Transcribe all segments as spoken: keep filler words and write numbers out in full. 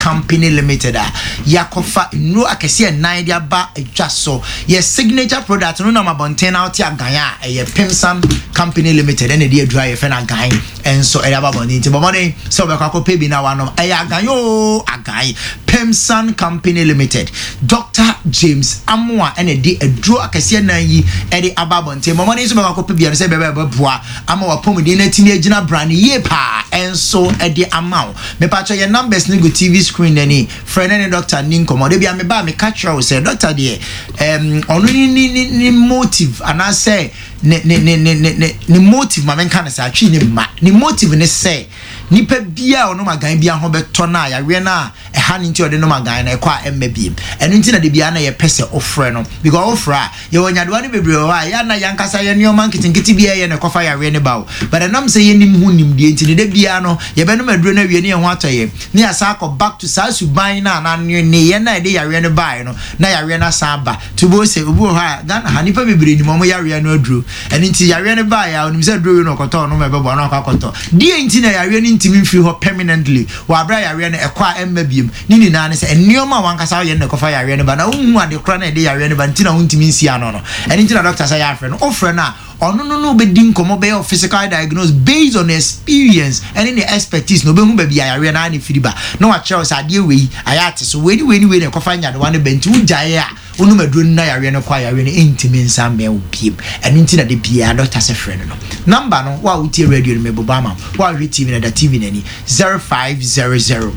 Company Limited a yɛakɔfa nnuro akɛseɛ nnan de aba adwa so. Yɛ signature product no nam abɔnten na wote agan a ɛyɛ Pimsan Company Limited ɛna ɛde aduro a yɛfɛ no agan ɛnso ɛde aba abɔnten, nti bɔ mmɔden sɛ wobɛkɔ akɔpɛ bi na wanom. Ɛyɛ agan o, agan Pimsan Company Limited, Doctor James Amoa ɛna ɛde aduro akɛseɛ nan yi ɛde aba abɔnten. Bɔ mmɔden nso bɛkɔ akɔpɛ bi no sɛ ɛbɛbɛ ɛbɛboa ama wapɔmuden no atumi agyina brane yie paa ɛnso ɛde ama wo. Mepakyɛ, yɛn numbers no gu T V screen n'ani. Frɛ ne ne doctor ni nkɔmmɔ. De bia meba a, meka kyerɛ wo sɛ doctor deɛ, ɛm ɔno ne ne ne ne motive anaasɛ ne ne ne ne ne ne ne motive, ma menka no sɛ atwi ne mma ne motive ne sɛ nipa bia a ɔnom agan bia ho bɛtɔ no a yareɛ no a ɛha no nti ɔde nom agan no ɛkɔ a ɛmma biem. Ɛno nti na de bia na yɛpɛ sɛ ɔfrɛ no, because ɔfrɛ a, yɛwɔ nyadewa no bebree wɔ hɔ a yɛa na yɛankasa yɛ nneɔma nketenkete bi a ɛyɛ na ɛkɔfa yareɛ no ba o, but ɛnam sɛ yɛnim ho nimdeɛ nti ne da biara no yɛbɛnom aduro no awie ne yɛn ho atɔ yɛn ne yɛasa akɔ back to saa suban no a na nneyɛ no a ɛde yareɛ no baeɛ no na yareɛ no asan aba. Tubo sɛ obi wɔ hɔ a, Ghana ha nipa bebree nim ɔmo yareɛ no aduro. Ɛno nti yareɛ no baeɛ a, onim sɛ aduro wei no ɔkɔtɔ ɔnom ɛbɛboa no akɔ akɔtɔ deɛ nti na yareɛ no ntumi mfiri hɔ permanently wɔ abere a yareɛ no ɛkɔ a ɛmma biem. Ne nyinaa ne sɛ nneɛma a wankasa woyɛ no na ɛkɔfa yareɛ no ba na wohu ade kora na ɛde yareɛ no ba nti na wontumi nsi ano no. Ɛno nti na doctor sɛ yɛafrɛ no. Wofrɛ no a, ɔno no no bɛdi nkɔmmɔ, bɛyɛ physical diagnose based on experience ɛne ne expertise na obɛhu baabi a yareɛ no a ne firi ba na wakyerɛ wo sɛ adeɛ wei ayɛ ate so, wei ne wei ne wei na ɛkɔfa nyadewa no ba. Nti wogyaeɛ a, wonom aduro no na yareɛ no kɔ a, yareɛ no ɛntumi nsa mmɛn wo biem. Ɛno nti na de biara doctor sɛ frɛ no no number no. Wo a wotie radio no, mebobɔ ama wo. Wo a wohwɛ T V no, da T V n'ani: zero five zero zero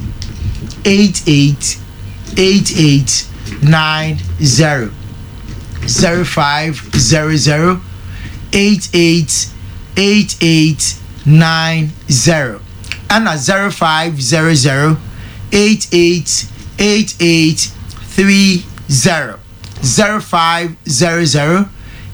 eight eight eight eight nine zero, zero five zero zero eight eight eight eight nine zero, ɛna zero five zero zero eight eight eight eight three zero, zero five zero zero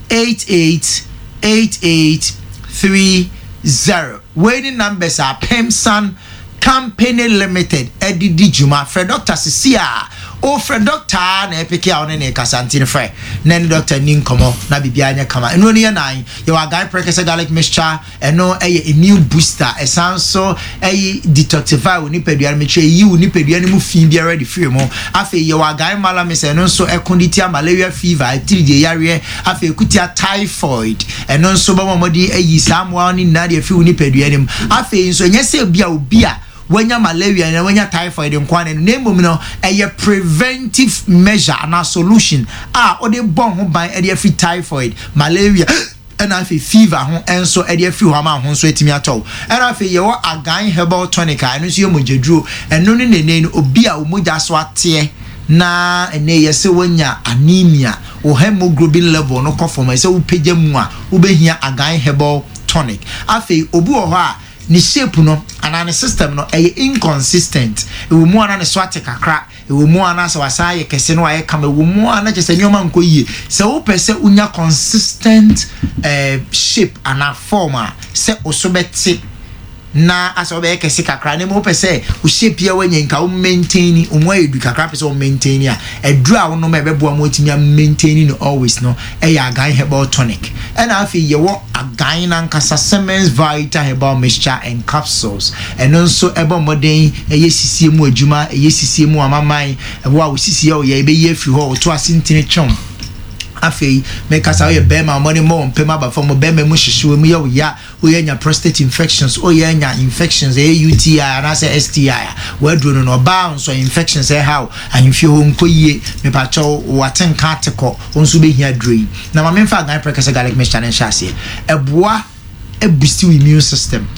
eight eight eight eight three zero. Wei ne numbers a Pemsan Company Limited ɛde di dwuma. Frɛ doctor sisi a ofrɛ doctor na ɛpeke a ɔne ne kasa nti no, frɛ na ne doctor ni nkɔmɔ na biribiara nyɛ kama. Ɛno no yɛ nan. Yɛwɔ agan Prekɛsɛ garlic mixture. Ɛno ɛyɛ immune booster, ɛsan so ɛyi detoxify wo nipadua no, mekyerɛ yi wo nipadua no mu fi biara de firi mu. Afei yɛwɔ agan malamis. Ɛno nso ɛko de tia malaria fever, atiridie yareɛ. Afei ɛkutia typhoid. Ɛno nso bɛma ɔmɔde ayi saa mmoa no nyinaa de afiri wo nipadua no mu. Afei nso ɛnyɛ sɛ bi a obi a wanya malaria na wanya typhoid nkwa no, na mmom no ɛyɛ preventive measure anaa solution a ɔde bɔ ho ban ɛde afiri typhoid, malaria ɛna afei fever ho nso ɛde afiri hɔ ama ho nso atumi atɔ. Ɛna afei yɛwɔ agan herbal tonic a ɛno nso yɛ mogyaduro. Ɛno ne nene no, obi a mogya so ateɛ na ɛnɛ yɛsɛ wanya anemia, wo hemoglobin level no kɔ fam, ɛsɛ wopagya mu a, wobɛhia agan herbal tonic. Afei obi wɔ hɔ a ne shape no anaa ne system no ɛyɛ inconsistent. Ɛwɔ mu ana ne so ate kakra, ɛwɔ mu ana sɛ wasan ayɛ kɛse no ayɛ kama, ɛwɔ mu ana kyerɛ sɛ nneɛma nkɔ yie. Sɛ wopɛ sɛ wonya consistent eh, shape anaa form a sɛ wo bɛte na asɛ wobɛyɛ kɛse kakra, na mmom wopɛ sɛ wo shape a woanya nka wo maintain wo mu ayɛ du kakra, pɛ sɛ wo maintain a, aduru a wonom a ɛbɛboa ma watumi a maintain no always no ɛyɛ agan herbal tonic. Ɛna afei yɛwɔ agan nankasa Siemens Vita herbal mixture and capsules. Ɛno nso ɛbɔ mmɔden ɛyɛ sisie mu adwuma, ɛyɛ sisie mu amaman ɛwɔ a wosisie a ɔyɛ ɛbɛyi afiri hɔ, ɔto ase ntini twɛm. Afei mekasa, woyɛ bɛrima, ɔmɔne mmɔ wɔn mpɛm aba fam, bɛrima mu hyehye wɔ mu yɛ wo ya, woyɛ nya prostate infections, woyɛ nya infections ɛyɛ U T I anaasɛ S T I a, waduro no no ɔbaa nso infections ɛha wo ahemfie hɔ nkɔ yie, mepakyɛw, wate nka ate kɔ, wo nso bɛhia duro yi. Na ma memfa agan Prekɛsɛ garlic mixture no nhyɛ aseɛ. Ɛboa ɛboost wo immune system.